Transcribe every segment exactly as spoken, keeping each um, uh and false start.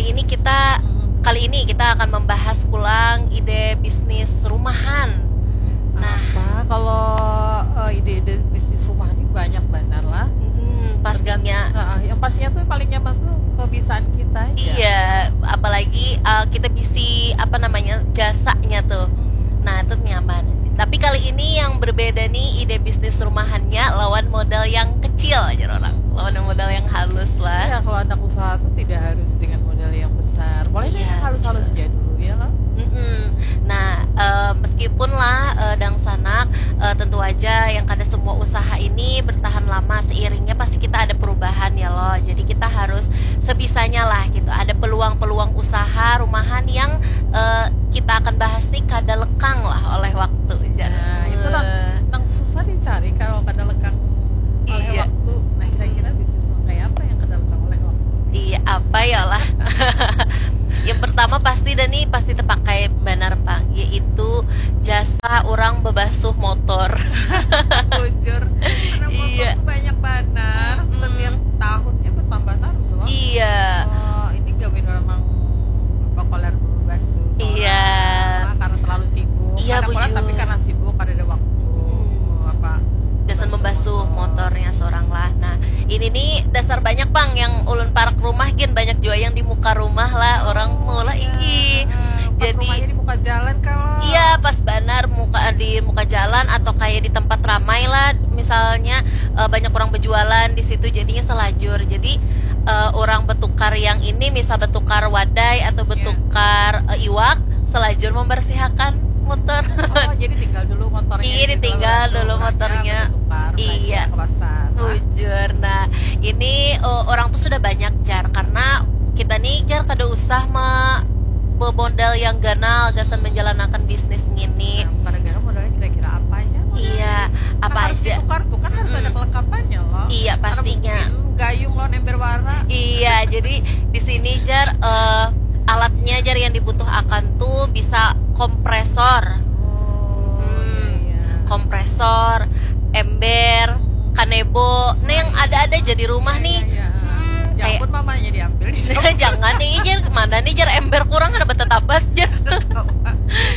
ini kita kali ini kita akan membahas pulang ide bisnis rumahan. Nah, Apa kalau eh, ide-ide bisnis rumah ini banyak benar lah. hmm, pastinya Heeh, yang pastinya tuh paling nyaman tuh kebiasaan kita aja. Iya, apalagi uh, kita bisi apa namanya jasanya tuh. Nah, itu nyaman. Tapi kali ini yang berbeda nih ide bisnis rumahannya lawan modal yang kecil aja orang. Lawan modal yang halus lah. Iya, kalau anak usaha tuh tidak harus dengan modal yang besar. Boleh deh Iya, yang halus-halus aja dulu ya loh. Mm-mm. Nah, eh, meskipun lah eh, dangsanak, eh, tentu aja yang kada semua usaha ini bertahan lama, seiringnya pasti kita ada perubahan ya loh. Jadi kita harus sebisanya lah gitu. Ada peluang-peluang usaha rumahan yang eh, kita akan bahas nih kada lekang lah oleh waktu. Nah, itu nang, nang susah dicari kalau kada lekang oleh Iya. waktu. Nah, kira-kira bisnis nang kayak apa yang kada lekang oleh waktu? Iya, apa ya lah? Yang pertama pasti dan nih pasti terpakai benar pak, yaitu jasa orang bebasuh motor. Bujur. Karena motor Iya. tuh banyak benar. Mm-mm. Setiap tahunnya bertambah terus loh. Iya. Oh, ini gawin orang nang apa koler bebasuh. Iya. Orang, karena terlalu sibuk. Iya, Kada koler, bujur. Tapi karena sibuk kada ada waktu. Hmm. Apa? Gasan membasuh motor. Motornya seorang lah. Nah, ini nih dasar banyak pang yang ulun parak rumah gin banyak juga yang di muka rumah lah orang mau lah iki. Eh, pas Jadi rumahnya di muka jalan kalau Iya, pas banar muka di muka jalan atau kayak di tempat ramai lah, misalnya eh, banyak orang berjualan di situ, jadinya selajur. Jadi eh, orang bertukar yang ini, misal bertukar wadai atau bertukar eh, iwak, selajur membersihakan motor. Oh, jadi tinggal dulu motornya Iya, di situ, ditinggal lalu dulu orangnya motornya. bertukar, Iya. belanja ke pasar. Bujur. Nah, ini oh, orang tuh sudah banyak jar karena kita nih jar kada usah me bemodal yang ganal gasan menjalankan bisnis ngini. Nah, gara-gara modalnya kira-kira apa aja? Modalnya? Iya, apa Kan harus aja? Ditukar tuh kan harus ada Mm-mm. kelengkapannya loh. Iya, Karena pastinya. Mungkin gayung lawan ember wara. Iya, jadi di sini jar eh, alatnya jar yang dibutuhkan tuh bisa kompresor, Oh, Hmm, iya, iya. kompresor, ember, kanebo, nah yang ada-ada aja di rumah Iya, nih. iya, iya. Hmm, Ya kayak ampun, mamanya diambil di jangan nih jar mana nih jar ember kurang ada betetapas jar.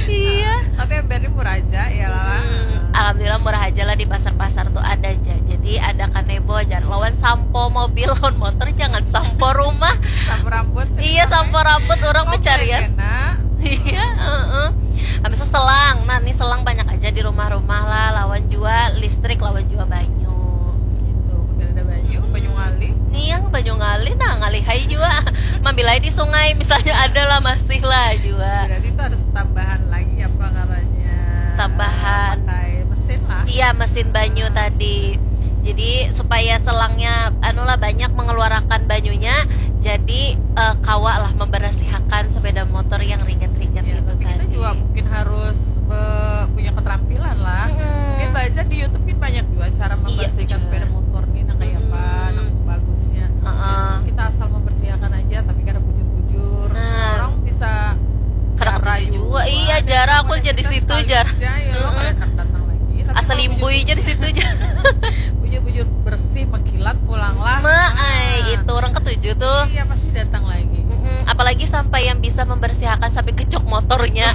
Iya. Tapi embernya murah aja ya lah. Hmm, alhamdulillah murah aja lah di pasar-pasar tuh ada aja. Jadi ada kanebo aja. Lawan sampo mobil, lawan motor jangan sampo rumah. Sampo rambut. Iya sampo rambut orang Komplain pencarian. Kena. Iya, heeh. Habis itu selang. Nah, ini selang banyak aja di rumah-rumah lah. Lawan jua listrik, lawan jua banyu. Gitu. Mungkin ada banyu, banyu ngalih. Nih yang banyu ngalih, nah ngalih hai jua. Mambilai di sungai, misalnya ada lah masih lah jua. Berarti itu harus tambahan lagi apa karanya? Tambahan. Pakai mesin lah. Iya, mesin banyu tadi. Jadi supaya selangnya anulah banyak mengeluarkan banyunya, jadi eh, kawa lah membersihakan sepeda motor yang ringan-ringan Ya, gitu tapi kita tadi. Juga mungkin harus eh, punya keterampilan lah. Mm-mm. Mungkin belajar di YouTube mungkin banyak juga cara membersihkan juga. Sepeda motor nih, nah kayak apa, Mm-mm. Nah, bagusnya. Heeh. Kita asal membersihkan aja, tapi kada bujur-bujur. Nah. Orang bisa Kada jara ketuju juga. Juga. Iya, Dan jara kalau aku ada jadi kita situ, sekali jar. Aja, ya, lo Mm-mm. kada datang lagi. Tapi Asal kalau limbui aja di situ aja. Bujur-bujur bersih, mengkilat pulang lah. Ma, ai, itu orang ketuju tuh. Iya, pasti datang lagi. Mm-mm, apalagi sampai yang bisa membersihakan sampai kecok motornya.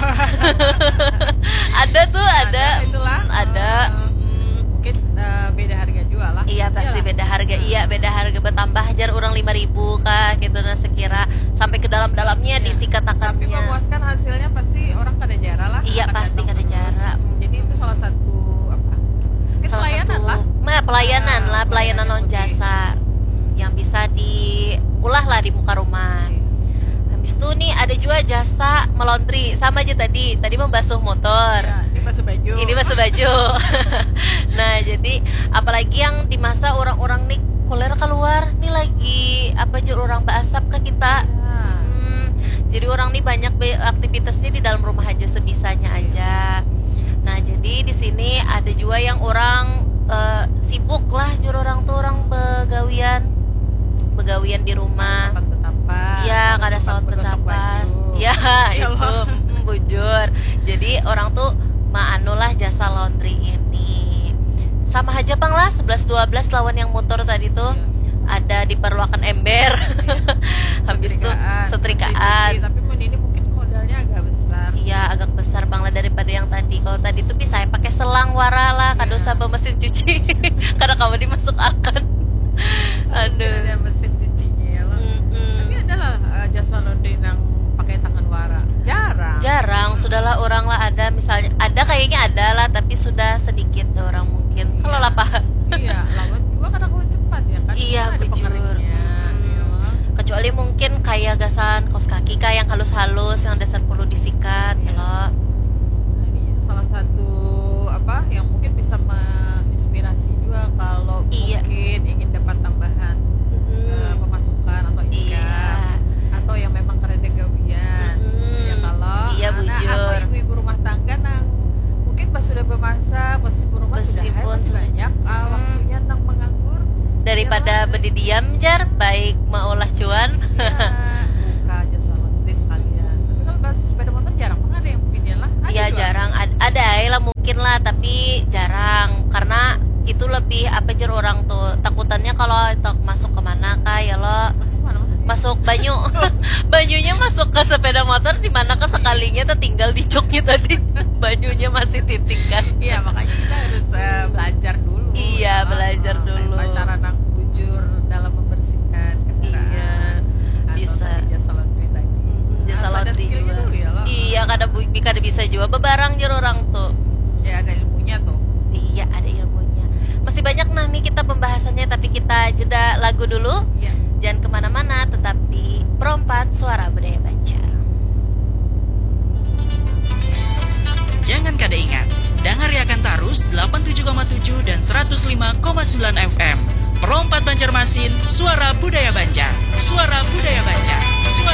Ada tuh, ada. Ada, itulah. Mm, ada. Eh, Mm. Mungkin eh, beda harga juga lah. Iya pasti Iyalah. Beda harga, iya beda harga bertambah jar orang lima ribu kah gitu nah sekira sampai ke dalam-dalamnya Iya. disikatakannya. Tapi memuaskan hasilnya pasti orang kada jara lah. Iya, Akan pasti datang kada terus. jara. Mm. Jadi itu salah satu apa? Mungkin Salah pelayanan satu, lah. Nah, pelayanan Ah, lah, pelayanan pelayanan lawan yang jasa yang bisa diulah lah di muka rumah. Iya. Habis itu nih ada juga jasa melaundry sama aja tadi. Tadi membasuh motor. Iya, ini masuk baju. Ini masuk baju. Nah, jadi apalagi yang di masa orang-orang nih kuler keluar, nih lagi apa jur orang berasap ke kita. Iya. Hmm, jadi orang nih banyak be- aktivitasnya di dalam rumah aja sebisanya aja. Nah, jadi di sini ada juga yang orang eh, sibuk lah jur orang tuh orang begawian begawian di rumah. Sempat bertapas. Iya, Kada kada sempat bergosok bertapas. Baju. Ya, Ya itu Allah. mm, bujur. Jadi orang tuh maanu lah jasa laundry ini. Sama aja pang lah sebelas dua belas lawan yang motor tadi tuh. Iya. ada diperluakan ember. Habis itu setrikaan. Cuci, tapi mun ini mungkin modalnya agak besar. Iya, agak besar bang lah daripada yang tadi. Kalau tadi tuh bisa ya pakai selang wara lah, kada usah bawa mesin cuci. Karena kamu dimasuk akan. Aduh. Ada mesin cucinya ya lah. Mm-mm. Tapi ada lah uh, jasa laundry yang pakai tangan wara. Jarang. Jarang, sudahlah orang lah ada misalnya. Ada kayaknya ada lah, tapi sudah sedikit orang mungkin. Kalau lapar. Iya, lawan juga karena kau cepat ya kan. Iya, bujur. Kecuali mungkin kayak gasan kaos kaki kah yang halus-halus, yang dasar perlu disikat, ya lo. Nah, ini salah satu apa yang mungkin bisa menginspirasi juga kalau iya. mungkin ingin dapat tambahan mm-hmm. uh, pemasukan atau income iya. atau yang memang kerja gawian mm-hmm. ya kalau iya, anak bujur. Atau ibu-ibu rumah tangga nang mungkin pas sudah bermasa pas ibu rumah sudah masih banyak uh, hmm. waktunya nang menganggur daripada ya, bedidiam jar baik maulah cuan ya, buka aja salon deh sekalian tapi kalau bahas sepeda motor jarang banget ada yang beginian lah ada ya juga. Jarang Ad- ada aja lah mungkin lah tapi jarang karena itu lebih apa jer orang tuh takutannya kalau masuk kemana kah ya lo masuk mana maksudnya masuk banyu banyunya masuk ke sepeda motor di mana ke sekalinya tertinggal di joknya tadi banyunya masih titik kan iya makanya kita harus uh, belajar dulu iya ya. Belajar uh, dulu cara nang bujur dalam membersihkan kendaraan iya bisa jasa laundry tadi hmm, jasa laundry juga ya, iya kada bu- kada bisa juga bebarang jero orang tuh ya ada ilmunya tuh iya ada ilmunya masih banyak nah nih kita pembahasannya tapi kita jeda lagu dulu ya. Jangan kemana-mana tetap di Perompat Suara Budaya Banjar. Jangan kada ingat, dangariakan tarus delapan tujuh koma tujuh dan seratus lima koma sembilan F M. Perompat Banjarmasin, suara budaya Banjar. Suara budaya Banjar. Suara